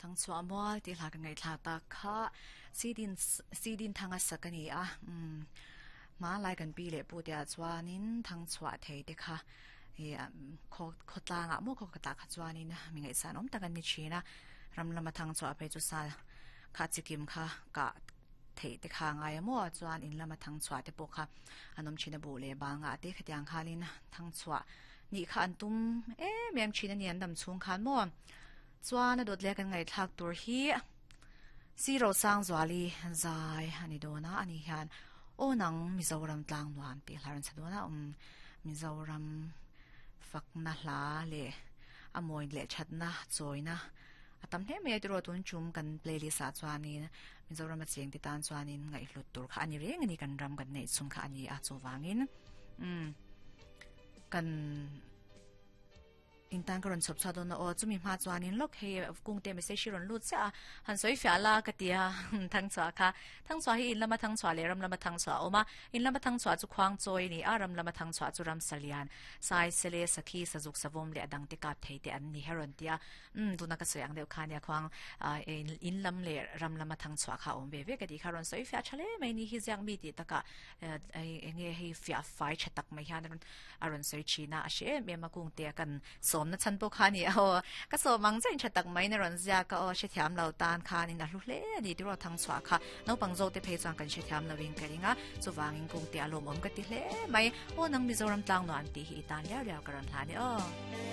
Thangchhuah mual tih hla ka ngaihthla tak kha Sidin Sidin thanga sak a ni a umm hmanlai kan pi leh pu te ah chuanin thangchhuah thei te kha ih khaw khawtlangah maw khaw khatah kha chuanin mi ngaihsan awm tak an ni thin a ram lama thangchhuah phei chu sal kha chikim kha kah theih te kha a ngai a maw chuan in lama thangchhuah te pawh kha an awm thin a buh leh bangah te khatiang khanin thangchhuah nih kha an tum em em thin a ni an dam chhung khan maw. Chuan a dawt leh kan ngaihthlak tur hi Siro Sangzuali zai a ni dawn a, ani hian aw nang Mizoram tlang nuam tih hla rawn chhe dawn a, um Mizoram fakna hla leh a mawi leh thatna chawina a tam hle mai a tiraw tun chum kan playlist ah chuanin Mizoram a cheng te tan chuanin ngaihhlut tur kha a ni reng a ni kan ram kan neih chhung kha a ni a chuvangin um kan Intan ka rawn chhawp chhuah dawn a aw, chumi hma chuanin lawk hei kungte message hi rawn lut chiah a, han sawi fiah la ka ti a, Thangchhuah kha. Thangchhuah hi in lama thangchhuah leh ram lama thangchhuah a awm a, in lama thangchhuah chu khuang chawi a ni a, ram lama thangchhuah chu ram salian, sai, sele, sakhi, sazuk, savawm leh a dangte kap thei te an ni he rawn ti a. Umm, tuna ka sawi ang deuh kha nia khuang in lam leh ram lama thangchhuah kha a awm ve ve ka tih kha rawn sawi fiah tha hle mai ni hi ziak mi tih takah eng nge hei fiah fai tha tak mai hian a rawn sawi thin a, a hre em em a kung te a kan sawmna chhan pawh kha a ni a aw, ka sawm ang chiah in tha tak maiin a rawn ziak a aw, hrethiam lo tan khanin a hlu hle a ni tiraw Thangchhuah kha naupang zawk te phei chuan kan hrethiam lo in ka ring a, chuvangin kung te a lawmawm ka ti hle mai, aw nang Mizoram tlang nuam tih hi i tan riau riau ka rawn hlan e aw.